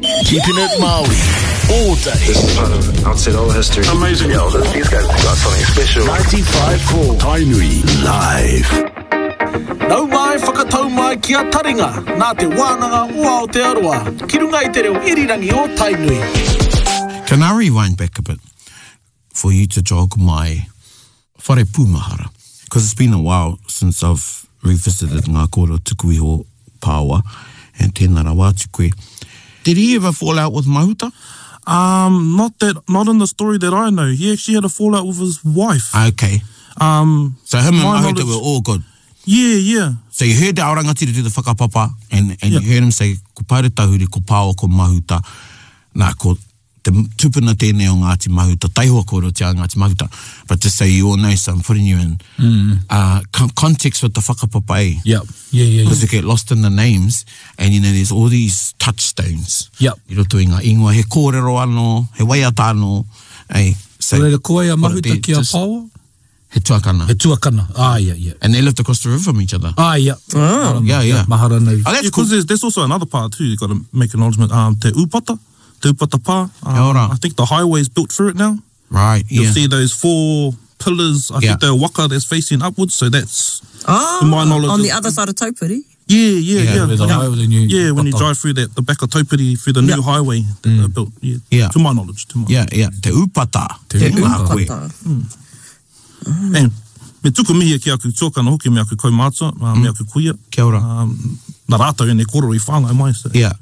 Keeping it Māori all day. This is part of Aotearoa history. Amazing. Yeah, these guys got something special. 95.4 Tainui Live. Nau mai whakatau mai ki a Taringa nā Te Wānanga o Aotearoa ki runga i te reo irirangi o Tainui. Can I rewind back a bit for you to jog my whare pūmahara? Because it's been a while since I've revisited ngā kōrero tuku iho Pāoa, and tēnā rawa atu koe. Did he ever fall out with Mahuta? Um, not that, not in the story that I know. He actually had a fallout with his wife. Okay. Um, So him and my Mahuta knowledge- were all good. Yeah, yeah. So you heard the Aorangatira do the whakapapa and, and Yeah. you heard him say, ko Paeretahuri, ko Pāoa, ko Mahuta. Nā, ko te tupuna tēnei o Ngāti Mahuta, taihoa kōrerotia a Ngāti Mahuta. But just so you all know, so I'm putting you in uh, con context with the whakapapa, eh? Yeah, yeah, yeah. yeah. Because you get lost in the names and you know there's all these touchstones. Yep. I roto i ngā ingoa, he kōrero anō, he waiata anō. Eh? So, Nō reira, ko ai a put it Mahuta there, ki a just- Pāoa? He tuakana. He tuakana. Ah, yeah, yeah. And they lived across the river from each other. Ah, yeah. Oh. Yeah, yeah. Mahara nei. Oh, that's Yeah, cool. because there's, there's also another part too. You got to make acknowledgement. Um, Te Upata, Te Upata Pā. Um, Kia ora. I think the highway's built through it now. Right, You'll yeah. see those four pillars. I Yeah. think the waka that's facing upwards. So that's Oh, to my knowledge. on the is- other side of Taupiri. Yeah, yeah, Yeah, yeah. where the yeah. highway, the new yeah, when you Upata. drive through that, the back of Taupiri through the new Yeah. highway that they built. Yeah, Yeah. To my knowledge, to my Yeah, yeah. Te Upata. Te Tēnā Upata. koe. And me tuku mihi ki aku tuakana hoki, me aku kaumātua, me aku kuia. Kia ora. Um, nā rātou ēnei kōrero i whāngai mai. So. Yeah.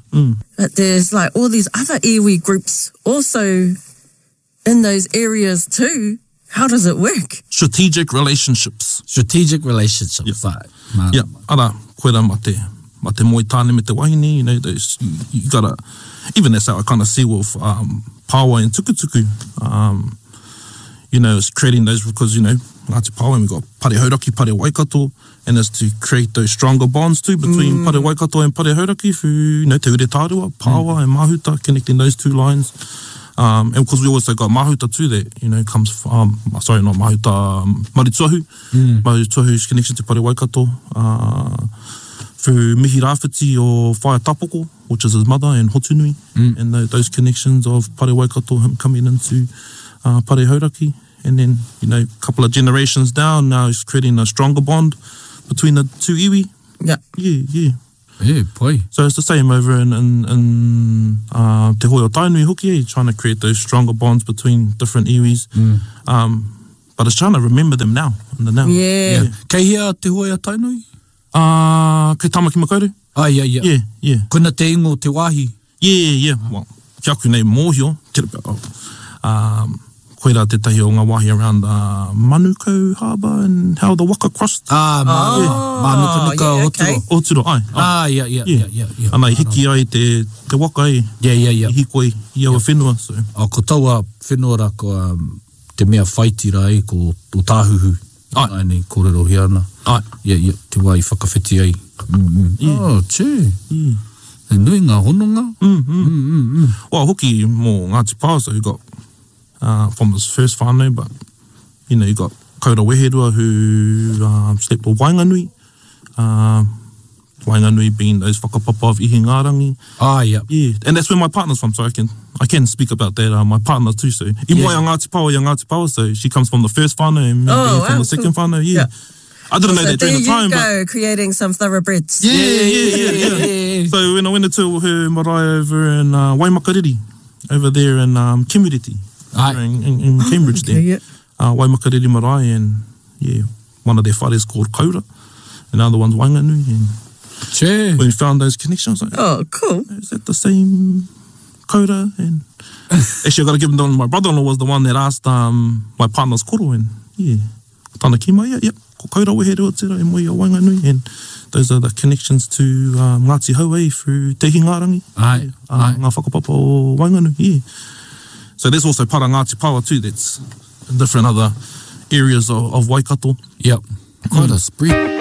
But there's like all these other iwi groups also in those areas too. How does it work? Strategic relationships. Strategic relationships. Yeah. Like, Yeah, ara, koe rā ma te, ma te moe tāne me te wahine, you know, those, you, you gotta, even that's how I kind of see with um, Pāoa and Tukutuku, um, you know, it's creating those because, you know, Ngāti Pāoa, and we got Pare Hauraki, Pare Waikato, and it's to create those stronger bonds too between Pare Waikato and Pare Hauraki through, you know, Te Ure Tārua, Pāoa and Mahuta, connecting those two lines. Um, and because we also got Mahuta too that, you know, comes from, um, sorry, not Mahuta, um, Marituahu, mm. Marituahu's connection to Pare Waikato, uh, through Mihi Rāwhiti o Whaea Tapoko, which is his mother, and Hotunui, and tho- those connections of Pare Waikato, him coming into uh, Pare Hauraki. And then, you know, a couple of generations down, now he's creating a stronger bond between the two iwi. Yeah. Yeah, yeah. Yeah, pai. So it's the same over in, in, in uh, Te Hoi o Tainui hoki, eh, trying to create those stronger bonds between different iwis. Um, but it's trying to remember them now, in the now. Yeah. Yeah. Kei hea Te Hoi a Tainui? Uh, kei Tamaki Makaurau? Ah, yeah, yeah. Yeah, yeah. Koina te ingo o te wāhi. Yeah, yeah. Well, ki aku nei mōhio, te reo, oh, um, koirā tētahi o ngā wāhi around uh, Manukau Harbour and how the waka crossed. Ah, mā, Oh, Mānukanuka yeah, o okay. Oturo. Oturo, ai. ai. Ah, yeah, yeah, yeah, yeah, yeah. Ana, i hiki ai te, te waka e, Yeah, yeah, yeah. i hikoi i aua whenua. So. Oh, ko taua whenua rā ko um, te mea whaiti rā e, ko o Tāhuhu. Ai. Ai nei kōrerohia ana. Ai. Yeah, yeah, te wā i whakawhiti ai. Mm, mm. Yeah. Oh, tē. Yeah. He nui ngā hononga. Mm, mm. Mm, mm. Well, hoki mō Ngāti Pāoa, so you got uh, from his first whānau, but you know, you got Kaura Weherua who um, slept with Waenganui. Um, Waenganui being those whakapapa of Ihingārangi. Ah, yeah. Yeah, and that's where my partner's from, so I can I can speak about that. Uh, my partner too, so i moe a Ngāti Pāoa i a Ngāti Pāoa, so she comes from the first whānau and me Oh, being from wow, the second cool. whānau, yeah. Yeah. I didn't know So that during there the you time, but go, creating some thoroughbreds. yeah, yeah, yeah, yeah. So when I went into her marae over in uh, Waimakariri, over there in um, Kimuriti, Aye. in, in, in Cambridge there, yeah. uh, Waimakariri marae, and yeah, one of their whares called Kaura, and the other one's Waenganui, and Tē. when we found those connections, I was like, Oh, cool. is that the same Kaura? And actually, I got to give him the My brother-in-law was the one that asked um, my partner's koro, and yeah, tana ki mai, yeah, yep, ko Kaura weherua tērā e moe i a Waenganui, and those are the connections to um, Ngāti Hauei through Te Hingārangi, Ai, uh, ai. ngā whakapapa o Waenganui, yeah. So there's also part of Ngāti Pāoa too, that's in different other areas of, of Waikato. Yep. Quite a spread.